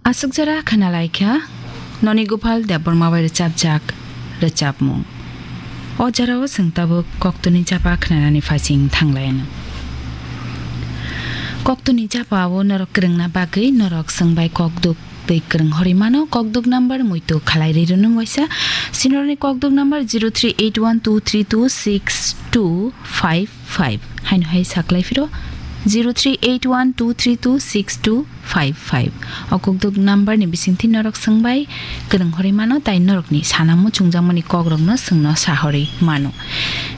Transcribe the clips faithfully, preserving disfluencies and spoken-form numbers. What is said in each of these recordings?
Aswk jora khwnalaikha Noni Gopal Debbarma bai rwchapjak rwchapmung. O jorao chwng tabuk koktwni chapa khwnanani phaising thanglaino. Koktwni chapao norok kwrwngna bagwi norok chwng bai kokduk twi kwrwng horwi mano. Kokduk number muitu khalai ri rwno waisa. Sinorni kokduk number zero three eight one two three two six two five five. Haino hai saklai phiro zero three eight one two three two six two five five. O kokduk number ni bisingtwi norok swngbai kwrwng horwi mano, tai norokni sana muchungjakmani kokrokno chwngno sahorwi mano.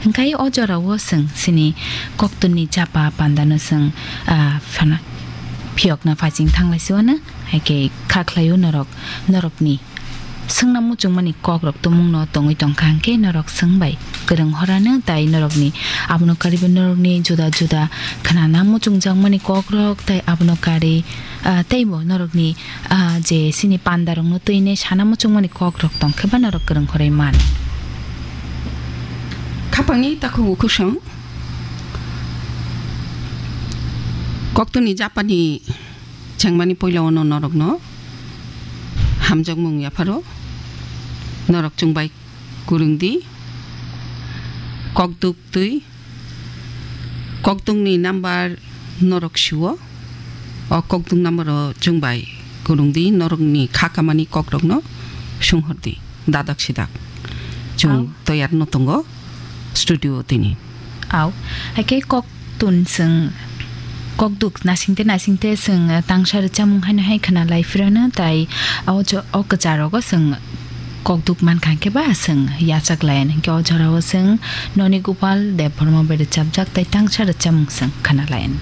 Hwnkhe o jorao chwng chini koktwni chapa pandano chwng, ah, phana-, phiyokna phaising thanglai siwano, hai khe kha khlaio norok, norokni swngna muchungmani kokrok tumungno tongwi tongkha, hwnkhe norok swngbai kwrwng horano, tai norokni abono karibo norokni juda juda khwnana muchungjakmani kokrok, tai abono kari, ah, teibo norokni, ah, je chini pandarokno twini sana muchungmani kokrok tongkhe ba norok kwrwng horwi man. Khapangni takhuk ukhusong koktwni japani chengmani puila ono norokno hamjakmung yapharo. Norok chwngbai kwrwngdi, kokduk twi, kokdukni number norok sio, o kokduk number o chwngbai kwrwngdi, norokni kha kamani kokrokno sunghordi, dadak sidak. Chwng Au. Toyar no tongo studio tini. Au, hai khe koktun chwng kokduk nasingte nasingte chwng tangsa rwchapmung haino hai khwnalai phirano, tai o jo-, o kwcharogo chwng kokduk mankha hwnkhe ba chwng yachak layan hwnkhe o jorao chwng Noni Gopal Debbarma bai rwchapjak tai tangsa rwchapmung chwng khwnalayan.